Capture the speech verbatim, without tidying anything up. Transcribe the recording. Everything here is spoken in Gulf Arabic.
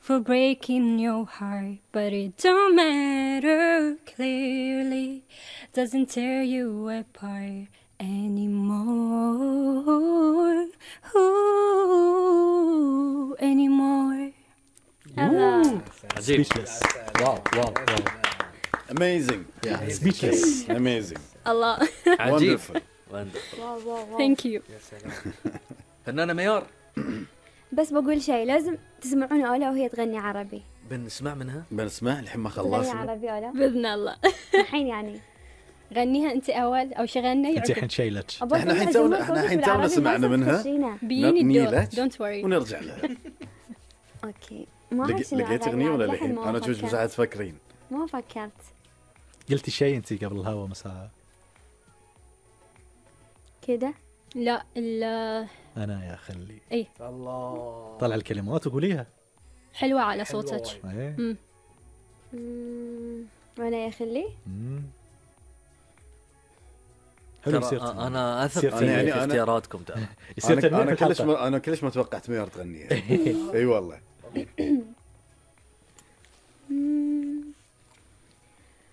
for breaking your heart, but it don't matter clearly, doesn't tear you apart anymore. Ooh, anymore. عجيب. واو واو واو. Amazing. Yeah, speechless. Amazing. الله. عجيب. Thank you. فنانة ميار، بس بقول شيء، لازم تسمعون أولا وهي تغني عربي. بنسمع منها. بنسمع الحين ما تغني خلصنا. عربي أولا بإذن الله. الحين يعني غنيها أنت أول أو شغلنا انت الحين شيلت. احنا الحين تونا احنا الحين تونا سمعنا منها. بيني نيلت. don't worry. ونرجع لها. أوكي. ما لقيت أغنية ولا الحين؟ أنا أشوف مساعد تفكرين. ما فكرت. قلتي شيء انت قبل الهوا مساء. كده؟ لا لا. انا يا خلي. ايه. الله. طلع الكلمات وقوليها. حلوة على صوتك. ايه. امم. وانا يا خلي. امم. حلو سيرت. انا اثق في يعني اختياراتكم ترى. انا انا كلش ما انا كلش ما توقعت ميار تغنيها. اي والله.